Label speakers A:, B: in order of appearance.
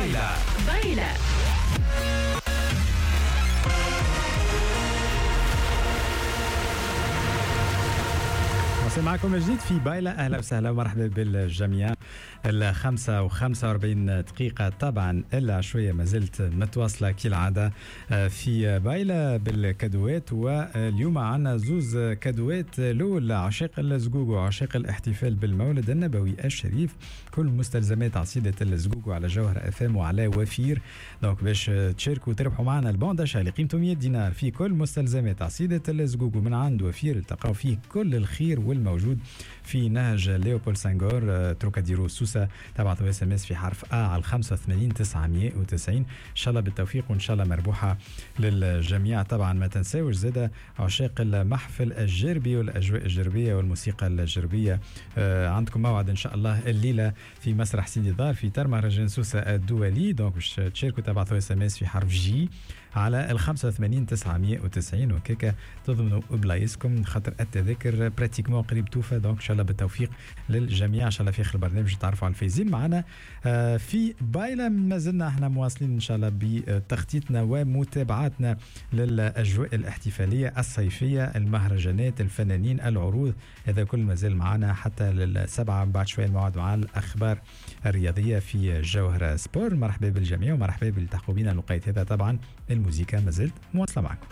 A: بايلا
B: بايلا.
C: واصل معكم جديد في بايلا. اهلا وسهلا ومرحبا بالجميع. 5:45 طبعا الا شوية ما زلت متواصلة كالعادة في بايلا بالكادوات، واليوم عندنا زوز كادوات. الاول عشاق الزقوق وعشاق الاحتفال بالمولد النبوي الشريف، كل مستلزمات عصيده الزقوق على جوهر اف ام وعلى وفير. donc باش تشاركوا وتربحوا معنا ال bon d'achat اللي قيمته 100 دينار في كل مستلزمات عصيده الزقوق من عند وفير، التقاو فيه كل الخير والموجود في نهج ليوبولد سانغور تروكاديرو سوسة. تبعثوا SMS في حرف A على 85 990. ان شاء الله بالتوفيق وان شاء الله مربوحه للجميع. طبعا ما تنساوش زاده عشاق المحفل الجربي والاجواء الجربيه والموسيقى الجربيه، عندكم موعد ان شاء الله الليلة في مسرح سيدي دار في تر مهرجان سوسة الدولي. donc باش تشاركوا تبعثوا SMS في حرف J على 85 990 وكيكا تضمنوا بلايصكم، خاطر التذاكر pratiquement قريب توفى. donc ان شاء الله بالتوفيق للجميع. ان شاء الله في اخر البرنامج تعرفوا على الفايزين معنا في بايلا. ما زلنا احنا مواصلين ان شاء الله بتخطيطنا ومتابعتنا للاجواء الاحتفالية الصيفية، المهرجانات، الفنانين، العروض، هذا كل ما زال معنا حتى للسبعة. بعد شوية الموعد مع الاخبار الرياضية في جوهره سبور. مرحبا بالجميع ومرحبا بالتحقوا بنا الوقيت هذا. طبعا الموزيكا ما زلت مواصلة معكم.